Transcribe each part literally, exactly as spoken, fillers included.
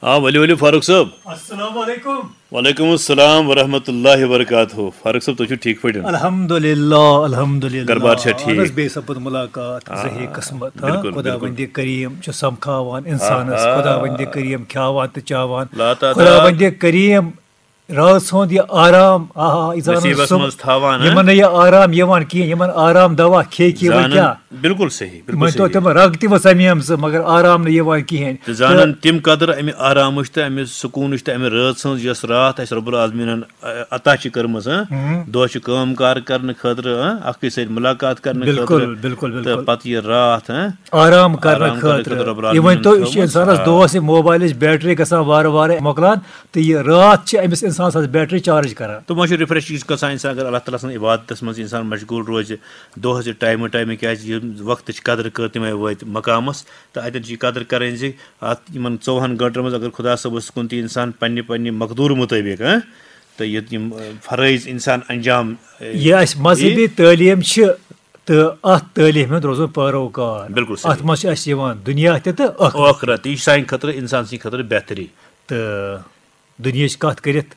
آ، ؤلِو ؤلِو فاروق صٲب۔ السلام علیکم۔ وعلیکم السلام ورحمۃ اللہ وبرکاتہ۔ فاروق صٲب، تُہۍ چھِو ٹھیٖک پٲٹھۍ؟ الحمدللہ، الحمدللہ۔ گرٕ بار چھا ٹھیٖک؟ اہن حظ، بیٚیہِ سپُد مُلاقات، آ، زہے قسمت۔ بِلکُل، خدا بِلکُل۔ وندِ کریم چھُ سمکھاوان انسانس، آ، آ۔ خدا وندِ کریم کھیاوان تہٕ چاوان۔ لاتعداد۔ خدا وندِ کریم رٲژ ہُنٛد یہِ آرام، آ، آ، یہِ زانُن نصیٖبس سُہ، منٛز تھاوان، ہاں؟ یِمن نہٕ یہِ آرام یِوان کینٛہہ، یِمن آرام دوا کھے کہِ وۄنۍ زانُن۔ کیٛاہ؟ بِلکُل صحیح، بِلکُل وۄنۍ تو صحیح۔ تِم رگ تہِ وۄنۍ ژَمیم سُہ، مگر آرام نہٕ یِوان کِہیٖنۍ۔ تہٕ زانن تِم قدر امہِ آرامٕچ تہٕ امہِ سکوٗنٕچ تہٕ امہِ رٲژ ہٕنٛز، یۄس راتھ اسہِ رب العالمیٖنن، ا، عطا چھِ کٔرمٕژ، ہاں؟ دۄہ چھِ کٲم کار کرنہٕ خٲطرٕ، ہاں؟ اکھ أکِس سۭتۍ مُلاقات کرنہٕ بِلکُل، خٲطرٕ۔ بِلکُل، تہٕ بِلکُل۔ پتہٕ یہِ راتھ، ہاں؟ آرام کرنہٕ آرام کرنہٕ خٲطرٕ۔ خٲطرٕ رب یہِ ؤنۍ العالمیٖنَن تو، یہِ تھٲومٕژ۔ چھِ اِنسانَس آ۔ دۄہَس یہِ موبایلٕچ بیٹری گژھان وارٕ وارٕ مۄکلان، تہٕ یہِ راتھ چھِ أمِس اِنسان سٕنٛز بیٹری چارج کران۔ تِمو چھِ رِفریش گژھان اِنسان، اگر اللہ تعالیٰ سٕنٛز عبادتَس منٛز اِنسان مشغوٗل روزِ دۄہَس یہِ ٹایمہٕ ٹایمہٕ، کیٛازِ یہِ وقتٕچ قدر کٔر تِمَے وٲتۍ مقامَس۔ تہٕ اَتٮ۪ن چھِ یہِ قدر کَرٕنۍ زِ اَتھ یِمَن ژوٚوُہَن گٲنٛٹَن منٛز اگر خۄدا صٲبَس کُن تہِ اِنسان پنٛنہِ پنٛنہِ مقدوٗر مُطٲبِق، ہاں، تہٕ یہِ یِم، اَ، فرٲیض اِنسان انجام، اَ، یہِ اَسہِ مذہبی تعلیٖم چھِ تہٕ اَتھ تعلیٖم ہُنٛد روزُن پٲروکار۔ بِلکُل صحیح۔ اَتھ منٛز چھِ اَسہِ یِوان دُنیا تہِ تہٕ ٲخرت۔ ٲخرت، یہِ چھِ سانہِ خٲطرٕ، اِنسان سٕنٛدِ خٲطرٕ بہتری۔ تہٕ دُنیاہٕچ کَتھ کٔرِتھ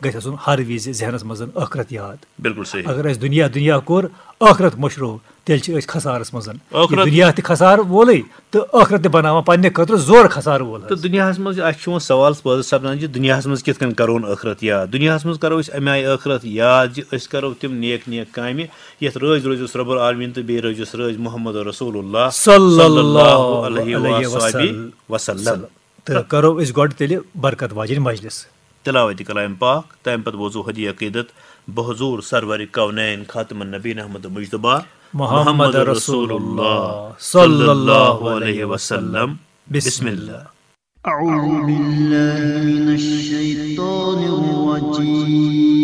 گژھِ آسُن ہر وِزِ ذہنَس منٛز ٲخرت یاد۔ بِلکُل صحیح۔ اگر اَسہِ دُنیا دُنیا کوٚر، ٲخرت مٔشرو، تیٚلہِ چھِ أسۍ خسارَس منٛز۔ ٲخرت۔ یہِ دُنیا تہِ خسارٕ وولٕے تہٕ ٲخرت تہِ بَناوان پنٛنہِ خٲطرٕ زورٕ خسارٕ وول حظ۔ تہٕ دُنیاہَس منٛز اَسہِ چھُ وۄنۍ سوال پٲدٕ سپدان زِ دُنیاہَس منٛز کِتھ کٔنۍ کَرون ٲخرت یاد؟ دُنیاہَس منٛز کَرو أسۍ اَمہِ آیہِ ٲخرت یاد زِ أسۍ کَرو تِم نیک نیک کامہِ، یَتھ رٲضۍ روزٮ۪س رب العالمیٖن تہٕ بیٚیہِ روزٮ۪س رٲضۍ محمد رسول اللہ صلی اللہ علیہ علیہ وصحبہ وسلم۔ وسلم۔ تہٕ کَرو أسۍ گۄڈٕ تیٚلہِ برکت واجِنۍ مجلس۔ تلاوت کلام پاک، تَمہِ پتہٕ بوزو ہدیہ عقیدت بحضور سرور کونین خاتم النبین احمد مجتبیٰ محمد رسول اللہ صلی اللہ علیہ وسلم۔ بسم اللہ۔ أعوذ بالله